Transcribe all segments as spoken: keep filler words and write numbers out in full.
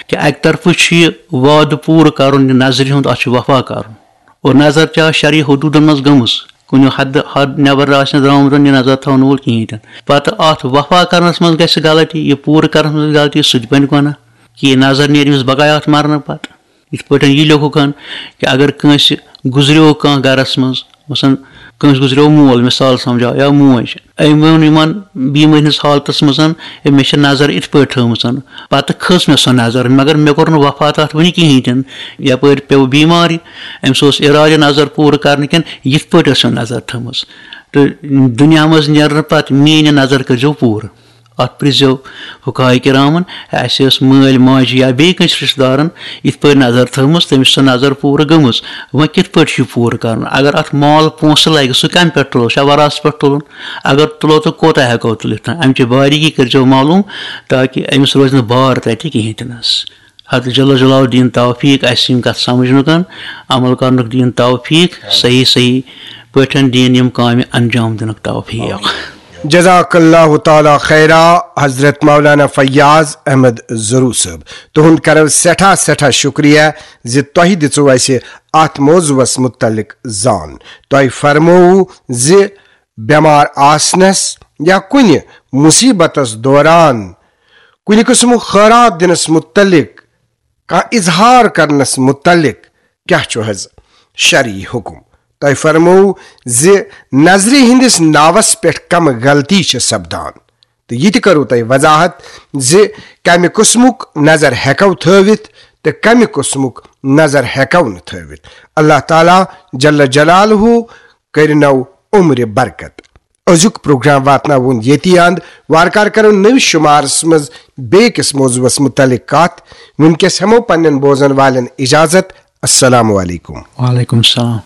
کہِ اَکہِ طرفہٕ چھُ یہِ وعدٕ پوٗرٕ کَرُن، یہِ نظرِ ہُنٛد، اَتھ چھُ وفا کَرُن، اور نظر تہِ آسہِ شرعی حدوٗدَن منٛز گٔمٕژ، کُنہِ حدٕ حد نٮ۪بر آسہِ نہٕ درٛامُت، یہِ نظر تھاونہٕ وول کِہیٖنۍ تہِ نہٕ۔ پَتہٕ اَتھ وفا کَرنَس منٛز گژھِ غلطی، یہِ پوٗرٕ کَرنَس منٛز گژھِ غلطی، سُہ تہِ بَنہِ گۄناہ، کہِ یہِ نظر نیرِ أمِس بغایات مَرنہٕ پَتہٕ۔ یِتھ پٲٹھۍ یہِ لیوٚکھُکھ ہن کہِ اگر کٲنٛسہِ گُزریو کانٛہہ گرس منٛز، مثلاً کٲنٛسہِ گُزریو مول، مثال سمجھاو، یا موج، أمۍ ووٚن یِمن بیمٲرۍ ہٕنٛز حالتس منٛز، "ہے، مےٚ چھِ نظر یِتھ پٲٹھۍ تھٲومٕژ، پتہٕ کھٔژ مےٚ سۄ نظر، مگر مےٚ کوٚر نہٕ وفا تتھ وُنہِ کِہیٖنۍ تہِ نہٕ، یپٲرۍ پیوٚو بیمارِ، أمِس اوس ارادٕ نظر پوٗرٕ کرنہٕ کِنۍ، یِتھ پٲٹھۍ ٲس سۄ نظر تھٲومٕژ، تہٕ دُنیا منٛز نیرنہٕ پتہٕ میٲنۍ یہِ نظر کٔرۍزیو پوٗرٕ۔" اتھ پرٛژھزیو حکایہِ کرامن، اسہِ ٲس مٲلۍ ماجہِ یا بیٚیہِ کٲنٛسہِ رشتہٕ دارن یِتھ پٲٹھۍ نظر تھٲومٕژ، تٔمِس چھِ سۄ نظر پوٗرٕ گٔمٕژ، وۄنۍ کِتھ پٲٹھۍ چھُ یہِ پوٗرٕ کرُن؟ اگر اتھ مال پونٛسہٕ لگہِ، سُہ کمہِ پٮ۪ٹھ تُلو؟ چھا وراثت پٮ۪ٹھ تُلُن؟ اگر تُلو، تہٕ کوتاہ ہٮ۪کو تُلِتھ؟ امچہِ باریٖکی کٔرۍزیو معلوم، تاکہِ أمِس روزِ نہٕ بار تتہِ کِہیٖنۍ تہِ نس۔ حضرت جل جلالہ دین توفیق اسہِ یِم کتھ سمجھنُک، عمل کرنُک دین توفیق، صحیح صحیح پٲٹھۍ دین یِم کامہِ انجام دِنُک توفیق۔ جزاک اللہ تعالیٰ خیرا حضرت مولانا فیاض احمد ضرور صٲب، تُہُنٛد کرو سٮ۪ٹھاہ سٮ۪ٹھاہ شُکریہ زِ تۄہہِ دِژوٕ اَسہِ اَتھ موضوعس مُتعلق زان۔ تۄہہِ فرمووُ زِ بٮ۪مار آسنس یا کُنہِ مُصیبتس دوران کُنہِ قٕسمُک خٲرات دِنس مُتعلق کانٛہہ اظہار کرنس مُتعلق کیٛاہ چھُ حض شرعی حُکم؟ تۄہہِ فرموو زِ نظرِ ہٕنٛدِس ناوس پٮ۪ٹھ کمہٕ غلطی چھِ سپدان، تہٕ یہِ تہِ کٔرٕو تۄہہِ وضاحت زِ کمہِ قٕسمُک نظر ہٮ۪کو تھٲوِتھ تہٕ کمہِ قٕسمُک نظر ہٮ۪کو نہٕ تھٲوِتھ۔ اللہ تعالیٰ جل جلالہ کٔرِنو عمرِ برکت۔ أزیُک پروگرام واتناوون ییٚتی اند۔ وارٕ کارٕ کرو نٔوِس شُمارس منٛز بیٚیہِ کِس موضوعس مُتعلق کتھ۔ وٕنکیٚس ہٮ۪مو پننٮ۪ن بوزن والٮ۪ن اجازت۔ السلام علیکم۔ وعلیکم السلام۔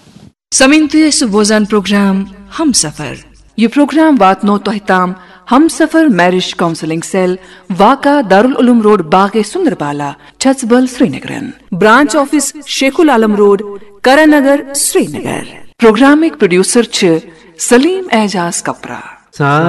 سمعین، تُہۍ ٲسِو بوزان پروگرام ہم سفر۔ یہِ پروگرام واتنو تۄہہِ تام ہم سفر میرج کاؤنسلنگ سیل، واقع دارالعلوم روڈ، باغ سندربالا، چھژبل، سرینگرن۔ برانچ آفس شیخ العالم روڈ، کرن نگر، سرینگر۔ پروگرامٕکۍ پروڈیوسر چھِ سلیم اعجاز کپرا۔